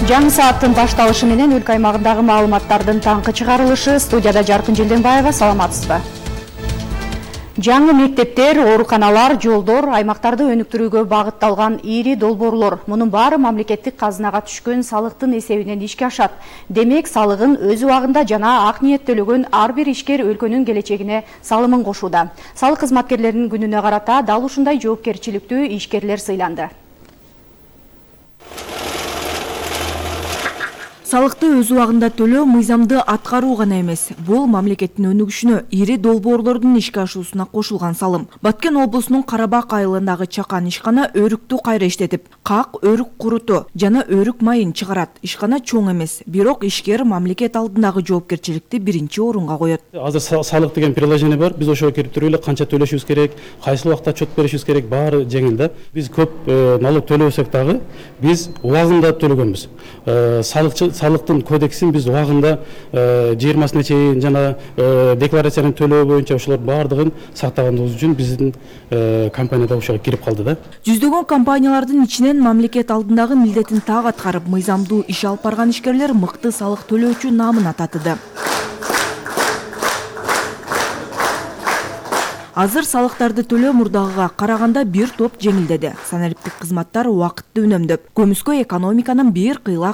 Жаңы сааттын башталышы менен өлкө аймагындагы маалыматтардын таңкы чыгарылышы. Студияда Жаркын Желденбаева, саламатсызбы? Жаңы мектептер, ооруканалар, жолдор, аймактарды өнүктүрүүгө багытталган ири долбоорлор. Мунун баары мамлекеттик казынага түшкөн салыктын эсебинен ишке ашат. Демек, салыгын өз убагында жана ак ниет төлөгөн ар бир ишкер өлкөнүн келечегине салымын кошууда. Салык кызматкерлеринин күнүнө карата дал ушундай жоопкерчиликтүү ишкерлер сыйланды. Салыкты өз убагында төлөө мыйзамды аткаруу гана эмес, бул мамлекеттин өнүгүшүнө, ири долбоорлордун ишке ашуусуна кошулган салым. Баткен облусунун Карабак айылындагы чакан ишкана өрүктү кайра иштетип, как өрүк куруту жана өрүк майын чыгарат. Ишкана чоң эмес, бирок ишкер мамлекет алдындагы жоопкерчиликти биринчи орунга коет. Азыр салык деген приложение бар. Биз ошого кирип туруп эле канча төлөшүбүз керек, кайсы убакта отчет беришибиз керек, баары жеңил да. Биз көп налог төлөбөсөк дагы биз убагында төлөгөнбүз. Салыктын кодексин биз убагында 20-сына чейин жана декларацияны төлөө боюнча ошолор баардыгын сактаганыбыз үчүн биздин компанияда ошого кирип калды да. Жүздөгөн компаниялардын ичинен мамлекет алдындагы милдетин так аткарып, мыйзамдуу иш алып барган ишкерлер мыкты салык төлөөчү наамына татыды. Азыр салыктарды төлөө мурдагыга караганда бир топ жеңилдеди. Саналиптик кызматтар убакытты үнөмдөп, көмүскө экономиканын бир кыйла